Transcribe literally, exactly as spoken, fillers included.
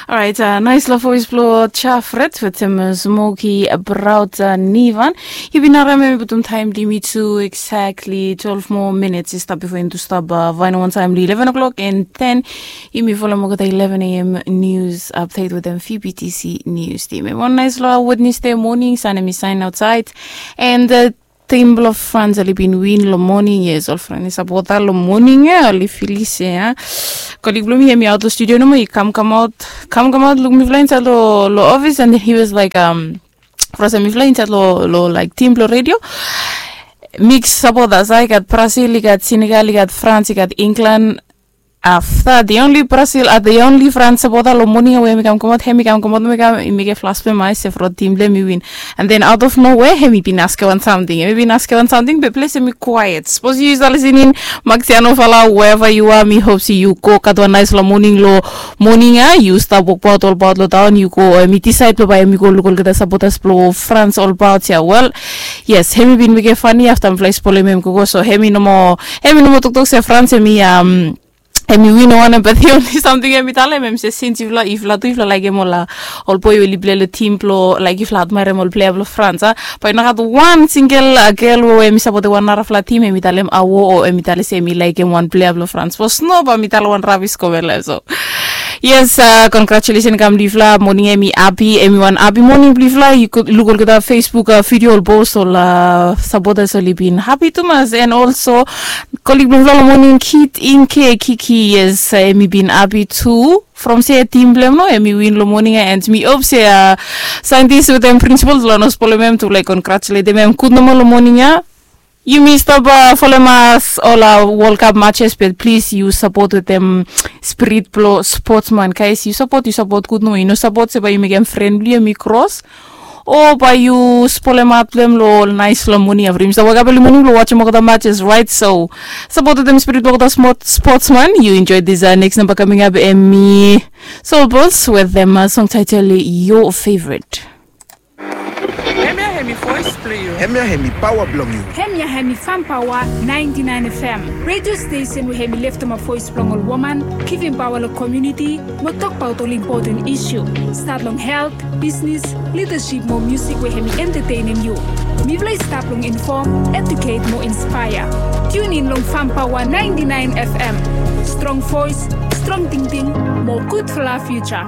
Orait, nais long voes blong Jafret wetem Smoki Braut Nivan. Yu bin harim em i putum taem blong yumi tu exactly twelve more minutes i stap bifo yumi tu stap vaen wan taem long eleven o'clock and then yumi folem olgeta eleven a.m. news update wetem V B T C news team. Em wan nais long Wednesday morning, sun em i saen aotsaed and Tim blong Frans oli bin win long moning. Yes, ol fren i sapota long moning ya, oli filis ya. Kolik blong mi em i aot long studio nomo, i kamkamaot kamkamaot luk mifala insaed long ofis and then he was like, um, from mifala insaed long like tim blong redio. Mix sapotas, i gat Brazil, i gat Senegal, i gat Frans, i gat England. Afta the only Brazil, the only Frans sapota long moning ya we em i kamkamaot, hem i kamkamaot nomo i mekem flas blong hem i se from tim blong hem i win. And then out of nowhere hem i bin askem wan samting, hem i bin askem wan samting be ples hem i kwaet. Sapos yu stap lisening, Maxiano Fala, wherever yu are, mi hop se yu go gat wan nais long moning long moning ya. Yu stap wokbaot olbaot long taon, yu go, hem i disaed blong bae hem i go luk olgeta sapotas blong Frans olbaot ya. Wel, yes, hem i bin mekem fani afta mifala i spolem hem gogo, so hem i nomo, hem i nomo toktok se Frans hem i, um, hem i win wanem, but the only samting hem i talem hem se sins yufala, yufala tu yufala laekem ol, ol boe we oli plei long tim blong, laik yufala admaerem ol plea blong Frans, a, bae i no gat wan singel gel we hem i sapotem wan narafala tim hem i talem awo o hem i talem se hem i laekem wan plea blong Frans. Sapos no bae mi talem wan rabis komen long hem. So yes, congratulation kam long yufala. Moning hem i hapi, hem i wan hapi moning blong yufala. Yu luk olgeta Facebook vidio, ol bos, ol sapotas oli bin hapi tumas. And also kolik blong yufala long moning, Kit Inke Kiki, yes, hem i bin hapi tu from se tim blong hem no hem i win long moning ya. And mi hop se saentis wetem prinsipol oli no spolem hem tu laek kongratuletem hem. Gud nomo long moning ya. Yumi stap folem as ol World Cup matches, but plis yu sapot wetem spirit blong spotsman, guys. Yu sapot, yu sapot gud nomo. Yu no sapot se bae yu mekem fren blong yu hem i kros o bae yu spolem aot blong hem long ol nais long moning ya. From yumi stap wokap eli moning blong wajem olgeta matches, right? So sapot wetem spirit blong olgeta spotsman. Yu enjoy this next number coming up, hem i Soul Boss wetem song title Your Favorite. Hemia hemi voes blong yu. Hemia hemi paoa blong yu. Hemia hemi Fam Paoa ninety nine F M, redio stesen we hemi leftemap voes blong ol woman, givim paoa long komuniti mo tokbaot ol impoten isu, stat long helt, bisnis, lidasip mo musik we hemi entatenem yu. Mifala i stap long infom, eduket mo inspaea. Tiun in long Fam Paoa ninety nine F M. Strong voes, strong tingting mo gudfala fiuja.